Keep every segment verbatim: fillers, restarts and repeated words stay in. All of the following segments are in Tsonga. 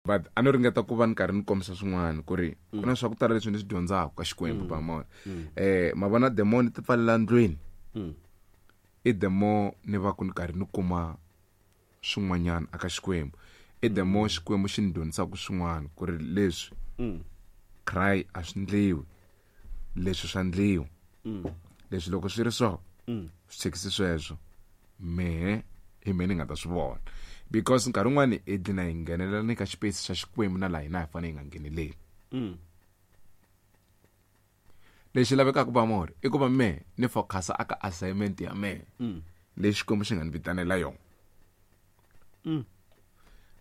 But a no ringeta ku va ni karhi ni kombisa swin'wana ku ri ku na swa ku tala leswi ni swi dyondzaka ka Xikwembu ba mona. Eh ma vona the more ni ti pfalela ndlwini. I the more ni va ku ni karhi ni kuma swin'wanyana aka Xikwembu. I the more Xikwembu xi ni dyondzisaka swin'wana ku ri leswi cry a swi ndliwi, leswi swa ndliwa, leswi loko swi ri so swi tshikisi sweswo mehe hi mehe ni nga ta swi vona. Because nkarhi wun'wani hi dlina hi nghenelela ni ka xipesi xa Xikwembu na laha hina hi fanele hi nga ngheneleli. Lexi lavekaka ba more i ku va mehe ni focus aka assignment ya mehe leyi Xikwembu xi nga ni vitanela yona.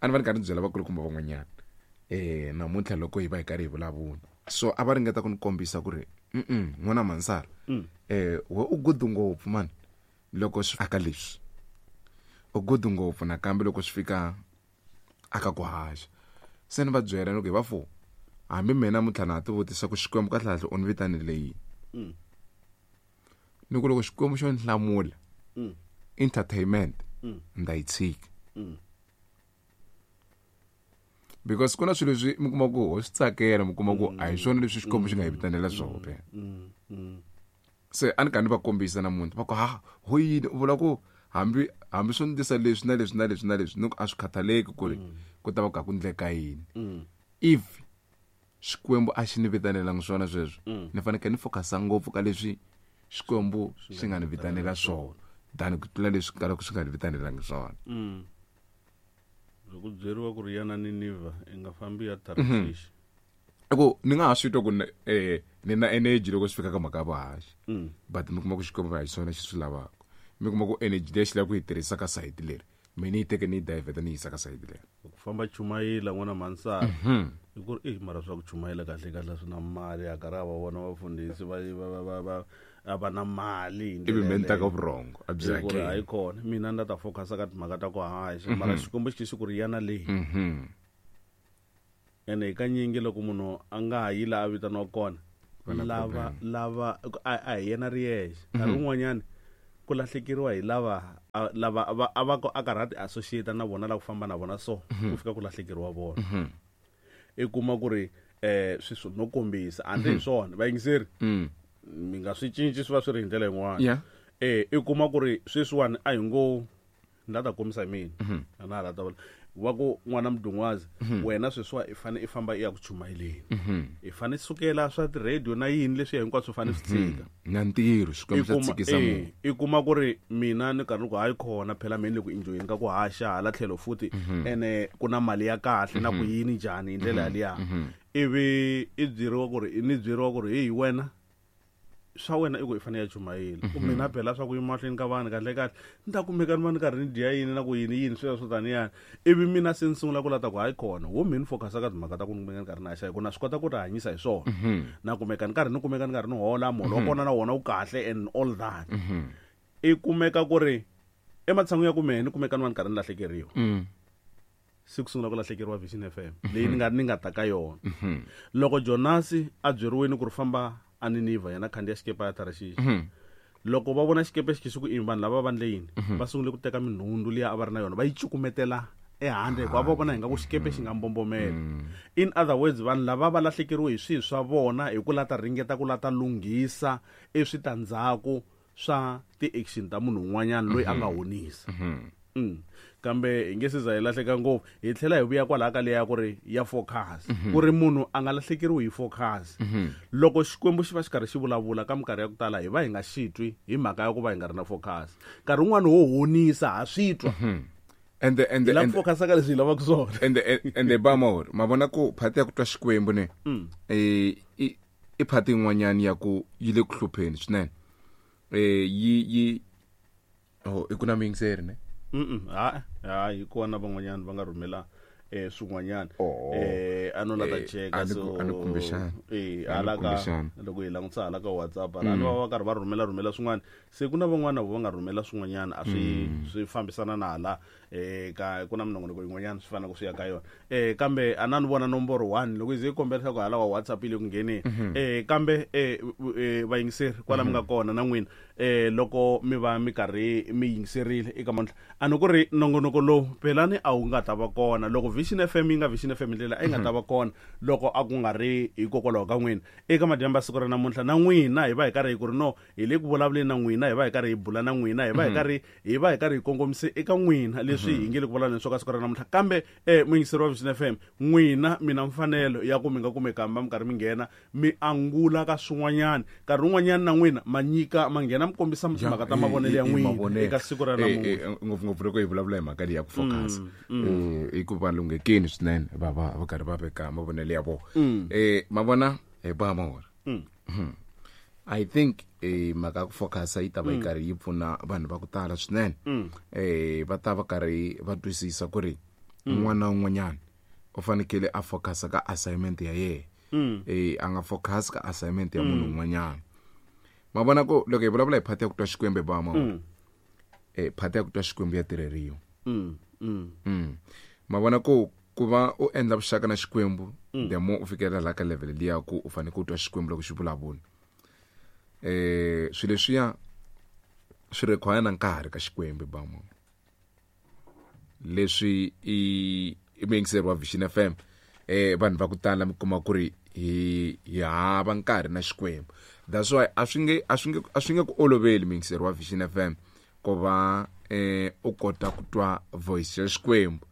A ni va ni karhi ni byela vakulukumba van'wanyana eh namuntlha loko hi va hi karhi hi vulavula, so a va ringeta ku ni kombisa ku ri mm n'wana Mansara eh we u good ngopfu man loko swi aka leswi, u good ngopfu nakambe loko swi fika aka ku haxa. Se ni va byela loko hi va fo hambi mina namuntlha na ha ti vutisa ku Xikwembu kahlekahle u ni vitanile yini. Ni ku loko Xikwembu xo ni hlamula entertainment ni ta yi tshika. Because ku na swilo leswi mi kuma ku ho swi tsakela, mi kuma ku a hi swona leswi Xikwembu xi nga hi vitanela swona phela. Se a ni karhi ni va kombisa namuntlha va ku ha ho yini u vula ku hambi hambi swo ndlisa leswi na leswi na leswi na leswi ni ku a swi khathaleki ku ri ku ta va ku ku ndleka yini. If Xikwembu a xi ni vitanelangi swona sweswo, ni fanekele ni focusa ngopfu ka leswi Xikwembu xi nga ni vitanela swona than ku tlula leswi kalaka swi nga ni vitanelangi swona. Loko byeriwa ku ri yana Ninivha i nga fambi ya Tarshish. I ku ni nga ha swi twa ku eh ni na energy loko swi fika ka mhaka ya vuhaxi, but mi kuma ku Xikwembu a hi swona xi swi lavaka. Mi kuma ku energy leyi xi lavaka ku yi tirhisa ka sayiti leri, mina ni yi teke ni yi divert ni yi yisa ka sayiti leri. Ku famba chumayela n'wana Mansara i ku ri eh mara swa ku chumayela kahle kahle swi na mali, a karhi a va vona vafundhisi va va va va a va na mali hi Ivi ndlela mi ni ta ka yaleyo. vurhongo a byi Hi ku ri hakeli. hayi kona mina ni ta focus ka timhaka ta ku haxa, mara Xikwembu xi xi ku ri yana leyi. Ene hi kanyingi loko munhu a nga ha yi laha a vitaniwaka kona, Va na lava problem. lava a, a hi yena ri yexe. Nkarhi wun'wanyani ku lahlekeriwa hi lava, a, lava a va, a va ko, a karhi a ti associate na vona, la ku famba na vona so, ku fika ku lahlekeriwa vona. I kuma ku ri, eh, sweswo no kombisa, a ndzi hi swona, vayingiseri, mi nga swi cinci swi va swi ri hi ndlela yin'wana. Yeah. Eh, i kuma ku ri sweswiwani a hi ngo ni la ta kombisa hi mina. A na ha la ta vula. Wa ku n'wana Mdungwazi, wena sweswiwa i fane i famba i ya ku chumayeleni. I fane sukela swa ti-radio na yini leswiya hinkwaswo u fane swi tshika. Na ntirho, Xikwembu xa I kuma, tshikisa eh, munhu. i kuma ku ri mina ni karhi ni ku hayi khona phela mina ni le ku enjoyeni ka ku haxa hala tlhelo futhi, ene ku na mali ya kahle na ku yini njhani hi ndlela yaliya. Ivi i byeriwa ku ri, ni byeriwa ku ri hey wena swa wena i ku i fanele ya chumayela. Ku mina phela swa ku yima mahlweni ka vanhu kahle kahle ni ta kumeka ni va ni karhi ni dya yini na ku yini yini sweswo swo taniyani. Ivi mina se ni sungula ku lata ku hayi khona wo mina ni focus ka timhaka ta ku ni kumeka ni karhi ni haxa hi ku na swi kota ku ti hanyisa hi swona. Na kumeka ni karhi ni kumeka ni karhi ni hola muholo wa kona na wona wu kahle and all that. I kumeka ku ri ematshan'wini ya ku mehe ni kumeka ni va ni karhi ni lahlekeriwa. Se ku sungula ku lahlekeriwa Vision F M leyi ni nga ni nga ta ka yona. Loko Jonasi a byeriwile ku ri famba a Ninivha yena khandziya xikepe ya Tarshish. Loko va vona xikepe xi xi ku i vanhu lava va ndle yini, va sungule ku teka minhundzu liya a va ri na yona va yi cukumetela ehandle hikuva va vona ingaku xikepe xi nga mbombomela. In other words, vanhu lava va lahlekeriwe hi swilo swa vona hi ku la ta ringeta ku la ta lunghisa eswitandzhaku swa ti-action ta munhu un'wanyana loyi a nga honisa. Mm. Kambe hi nge se za hi lahleka ngopfu, hi tlhela hi vuya kwalaha ka leya ku ri ya focus, ku ri munhu a nga lahlekeriwi hi focus. Loko Xikwembu xi va xi karhi xi vulavula ka minkarhi ya ku tala hi va hi nga xi twi hi mhaka ya ku va hi nga ri na focus. Nkarhi wun'wani wo honisa ha swi twa. And the, and the, Hi lava and ku focus ka leswi hi lavaka swona. And the, and the ba mawuri, ma vona ku phati ya ku twa Xikwembu ne, eh, i, i phati yin'wanyani ya ku yi le ku hlupheni swinene. Eh, yi, yi, oh, i ku na muyingiseri ne? Mm-mm, ha, ha, hi kona van'wanyana va nga rhumela, eh, swin'wanyana. Oh. Eh, a no la ta Eh, cheka, a ni so, ku, a ni kumbexana. eh, A ni hala ka, kumbexana. loko hi langutisa hala ka WhatsApp, hala va va karhi va rhumela, rhumela swin'wana. Se ku na van'wana va nga rhumela swin'wanyana, a swi, Mm. swi fambisana na hala, eh, ka, ku na minongonoko yin'wanyana swi faneleke swi ya ka yona. Eh, kambe a na ni vona nomboro one loko yi ze yi kombela leswaku hala wa WhatsApp yi le ku ngheneni. Mm-hmm. Eh, kambe, eh, eh, vayingiseri kwala mi nga Mm-hmm. kona na n'wina, eh loko mi va mi karhi mi yingiserile eka mandla a ni ku ri nongonoko lowu pelani a wu nga ta va kona loko Vision F M yi nga Vision F M ndlela a yi nga ta va kona loko a ku nga ri hikokwalaho ka n'wina eka madyambu ya siku ra namuntlha na n'wina hi va hi karhi hi ku ri no hi le ku vulavuleni na n'wina hi va hi karhi hi bula na n'wina hi va hi karhi hi va hi karhi hi kongomise eka n'wina leswi hi nge le ku vulavuleni swo ka siku ra namuntlha kambe eh muyingiseri wa Vision F M n'wina mina mfanelo ya ku mi nga kumeka mi karhi mi nghena mi angula ka swin'wanyana nkarhi wun'wanyana na n'wina ma nyika ma nghena mi kombisa timhaka ta mavonelo ya n'wina eka siku ra namuntlha ngopfungopfu loko hi vulavula hi mhaka leyi ya ku focus eh i ku va lunghekini swinene va va va karhi va veka mavonelo ya vona eh ma vona hi ba mawona I think eh mhaka ku focus yi ta va yi karhi yi pfuna vanhu va ku tala swinene eh va ta va karhi va twisisa ku ri un'wana na un'wanyana u fanekele a focus ka assignment ya yena eh a nga focus ka assignment ya munhu un'wanyana ma vona ku loko hi vulavula hi phati ya ku twa Xikwembu ba ma eh phati ya ku twa Xikwembu ya tirheriwa mm ma vona ku ku va u endla vuxaka na Xikwembu the more u fikelela la ka level liya ku u fanele ku twa Xikwembu loko xi vulavula eh swilo leswiya swi require na nkarhi ka Xikwembu ba ma leswi i i muyingiseri wa Vision F M eh vanhu va ku tala mi kuma ku ri hi hi hava nkarhi na Xikwembu that's why a swi nge a swi nge a swi nge ku oloveli muyingiseri wa Vision F M ku va eh u kota ku twa voice ya Xikwembu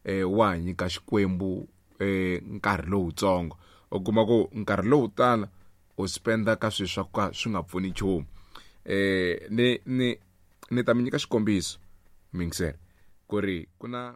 eh wa nyika Xikwembu eh nkarhi lowutsongo u kuma ku nkarhi lowu tala u spenda ka swilo swa ka swi nga pfuni nchumu eh ni ni ni ta mi nyika xikombiso muyingiseri ku ri ku na